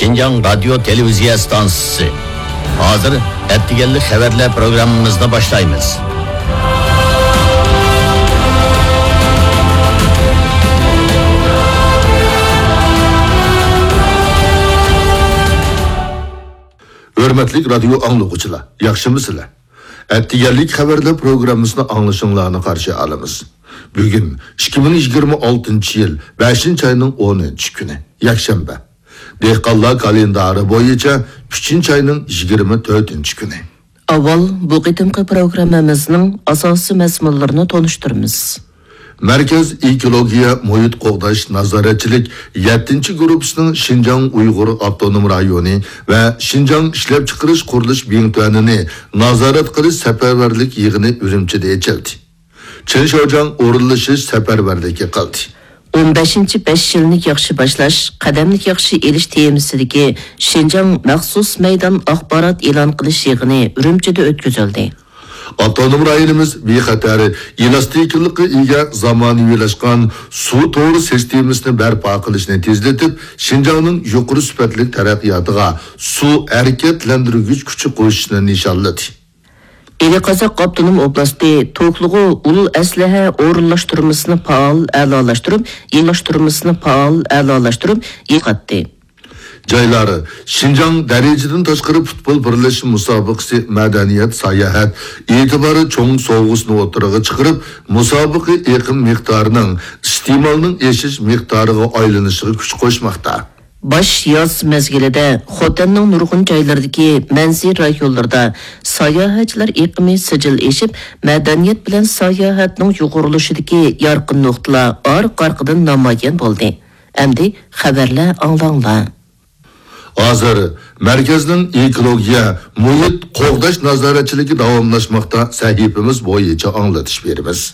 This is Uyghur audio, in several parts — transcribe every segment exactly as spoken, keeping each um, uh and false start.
شىنجاڭ رادىيو تېلېۋىزىيە ئىستانسىسى. ھازىر ئەتىگەنلىك خەۋەرلەر پروگراممىمىزنى باشلايمىز. ھۆرمەتلىك رادىيو ئاڭلىغۇچىلار، ياخشىمۇسىلەر؟ ئەتىگەنلىك خەۋەرلەر پروگراممىسىنى ئاڭلىشىڭلارنى قارشى ئالىمىز. بۈگۈن ئىككى مىڭ يىگىرمە ئالتىنچى يىل بەشىنچى ئاينىڭ ئونىنچى كۈنى، يەكشەنبە. دېھقانلار كالېندارى بويىچە ئۈچىنچى ئاينىڭ يىگىرمە تۆتىنچى كۈنى. ئاۋۋال بۇ قېتىمقى پروگراممىمىزنىڭ ئاساسىي مەزمۇنلىرىنى تونۇشتۇرىمىز. مەركەز ئېكولوگىيە مۇھىت قوغداش نازارەتچىلىك يەتتىنچى گۇرۇپپىسىنىڭ شىنجاڭ ئۇيغۇر ئاپتونوم رايونى ۋە شىنجاڭ ئىشلەپچىقىرىش قۇرۇلۇش بىڭتۈەنىنى نازارەت قىلىش سەپەرۋەرلىك يىغىنى ئۈرۈمچىدە ئېچىلدى. چېن شياۋجياڭ ئورۇنلىشىش سەپەرۋەرلىكى قىلدى. ئون بەشىنچى بەش يىلنى ياخشى باشلاش، قەدەمنى ياخشى ئېلىش تېمىسىدىكى شىنجاڭ مەخسۇس مەيدان ئاخبارات ئېلان قىلىش يىغىنى ئۈرۈمچىدە ئۆتكۈزۈلدى. ئاپتونوم رايونىمىز بىخەتەر، ئېلاستىكلىققا ئىگە، زامانىۋىلاشقان سۇ تورى سىستېمىسىنى بەرپا قىلىشنى تېزلىتىپ، شىنجاڭنىڭ يۇقىرى سۈپەتلىك تەرەققىياتىغا سۇ ھەرىكەتلەندۈرگۈچ كۈچى قوشۇشنى نىشانلىدى. ئىلى قازاق ئاپتونوم ئوبلاستى توكلۇغۇ ئۇل ئەسلىھە ئورۇنلاشتۇرمىسىنى پائال ئەلالاشتۇرۇپ، يېڭىلاشتۇرمىسىنى پائال ئەلالاشتۇرۇپ يېتىقاتتى. جايلار شىنجاڭ دەرىجىدىن تاشقىرى پۇتبول بىرلەشمە مۇسابىقىسى مەدەنىيەت ساياھەت ئېتىبارى چوڭ سوۋغىسىنى ئوتتۇرىغا چىقىرىپ، مۇسابىقە ئېقىم مىقدارىنىڭ ئىستېمالنىڭ ئېشىش مىقدارىغا ئايلىنىشىغا كۈچ قوشماقتا. باش ياز مەزگىلىدە خوتەننىڭ نۇرغۇن جايلىرىدىكى مەنزىرە رايونلىرىدا ساياھەتچىلەر ئېقىمى سىجىل ئېشىپ، مەدەنىيەت بىلەن ساياھەتنىڭ يۇغۇرۇلۇشىدىكى يارقىن نۇقتىلار ئارقا-ئارقىدىن نامايان بولدى. ئەمدى خەۋەرلەر ئاڭلاڭلار. ھازىر مەركەزنىڭ ئېكولوگىيە، مۇھىت قوغداش نازارەتچىلىكى داۋاملاشماقتا. سەھىپىمىز بويىچە ئاڭلىتىش بېرىمىز.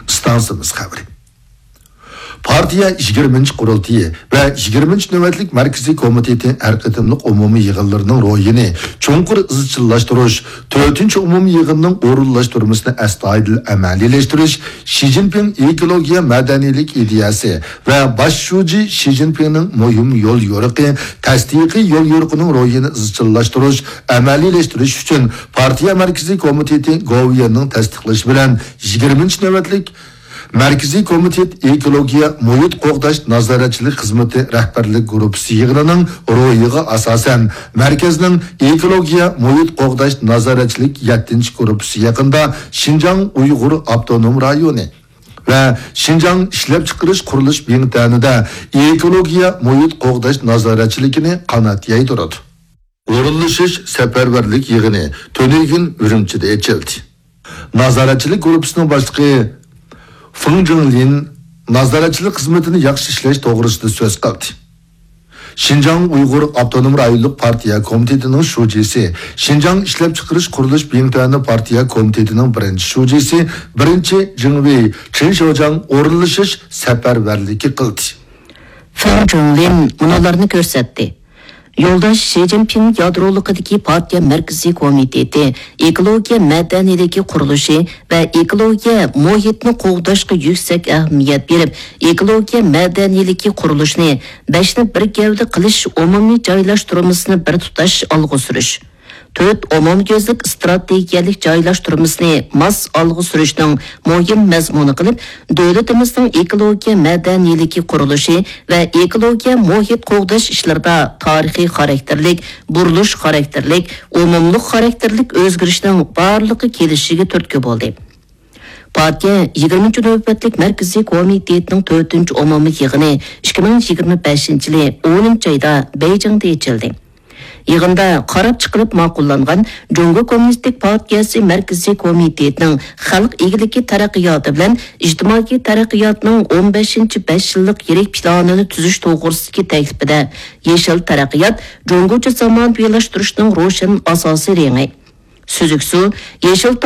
ئىستانسىمىز خەۋىرى. پارتىيە يىگىرمىنچى قۇرۇلتىيى ۋە يىگىرمىنچى نۆۋەتلىك مەركىزىي كومىتېتى ھەر قېتىملىق ئومۇمىي يىغىنلىرىنىڭ روھىنى چوڭقۇر ئىزچىللاشتۇرۇش، تۆتىنچى ئومۇمىي يىغىننىڭ ئورۇنلاشتۇرمىسىنى ئەستايىدىل ئەمەلىيلەشتۈرۈش، شى جىنپىڭ ئېكولوگىيە مەدەنىيلىك ئىدىيەسى ۋە باش شۇجى شى جىنپىڭنىڭ مۇھىم يول يورۇقى، تەستىقىي يول يورۇقىنىڭ روھىنى ئىزچىللاشتۇرۇش، ئەمەلىيلەشتۈرۈش ئۈچۈن پارتىيە مەركىزىي كومىتېتى گوۋۇيۈەننىڭ تەستىقلىشى بىلەن يىگىرمىنچى نۆۋەتلىك مەركىزىي كومىتېت ئېكولوگىيە مۇھىت قوغداش نازارەتچىلىك خىزمىتى رەھبەرلىك گۇرۇپپىسى يىغىنىنىڭ روھىغا ئاساسەن، مەركەزنىڭ ئېكولوگىيە مۇھىت قوغداش نازارەتچىلىك يەتتىنچى گۇرۇپپىسى يېقىندا شىنجاڭ ئۇيغۇر ئاپتونوم رايونى ۋە شىنجاڭ ئىشلەپچىقىرىش قۇرۇلۇش بىڭتۈەنىدە ئېكولوگىيە مۇھىت قوغداش نازارەتچىلىكىنى قانات يايدۇرىدۇ. ئورۇنلىشىش سەپەرۋەرلىك يىغىنى تۈنۈگۈن ئۈرۈمچىدە ئېچىلدى. نازارەتچىلىك گۇرۇپپىسىنىڭ باشلىقى فېڭ جىڭلىن نازارەتچىلىك خىزمىتىنى ياخشى ئىشلەش توغرىسىدا سۆز قىلدى. شىنجاڭ ئۇيغۇر ئاپتونوم رايونلۇق پارتىيە كومىتېتىنىڭ شۇجىسى، شىنجاڭ ئىشلەپچىقىرىش قۇرۇلۇش بىڭتۈەنى پارتىيە كومىتېتىنىڭ بىرىنچى شۇجىسى، بىرىنچى جىڭۋېي چېن شياۋجياڭ ئورۇنلىشىش سەپەرۋەرلىكى قىلدى. فېڭ جىڭلىن مۇنۇلارنى كۆرسەتتى. يولداش شى جىنپىڭ يادرولۇقىدىكى پارتىيە مەركىزىي كومىتېتى ئېكولوگىيە مەدەنىيلىكى قۇرۇلۇشى ۋە ئېكولوگىيە مۇھىتنى قوغداشقا يۈكسەك ئەھمىيەت بېرىپ، ئېكولوگىيە مەدەنىيلىكى قۇرۇلۇشىنى بەشنى بىر گەۋدە قىلىش ئومۇمىي جايلاشتۇرمىسىنى بىر تۇتاش ئالغا سۈرۈش، تۆت ئومۇميۈزلۈك ئىستراتېگىيەلىك جايلاشتۇرمىسىنى ماس ئالغا سۈرۈشنىڭ مۇھىم مەزمۇنى قىلىپ، دۆلىتىمىزنىڭ ئېكولوگىيە مەدەنىيلىكى قۇرۇلۇشى ۋە ئېكولوگىيە مۇھىت قوغداش ئىشلىرىدا تارىخىي خاراكتېرلىك، بۇرۇلۇش خاراكتېرلىك، ئومۇملۇق خاراكتېرلىك ئۆزگىرىشنىڭ بارلىققا كېلىشىگە تۈرتكە بولدى. پارتىيە يىگىرمىنچى نۆۋەتلىك مەركىزىي كومىتېتىنىڭ تۆتىنچى ئومۇمىي يىغىنى ئىككى مىڭ يىگىرمە بەشىنچى يىلى ئونىنچى ئايدا بېيجىڭدا ئېچىلدى. يىغىندا قاراپ چىقىلىپ ماقۇللانغان جۇڭگو كوممۇنىستىك پارتىيەسى مەركىزىي كومىتېتىنىڭ خەلق ئىگىلىكى تەرەققىياتى بىلەن ئىجتىمائىي تەرەققىياتنىڭ ئون بەشىنچى بەش يىللىق يىرىك پىلانىنى تۈزۈش توغرىسىدىكى تەكلىپىدە يېشىل تەرەققىيات جۇڭگوچە زامانىۋىلاشتۇرۇشنىڭ روشەن ئاساسىي رېڭى، سۈزۈك سۇ، يېشىل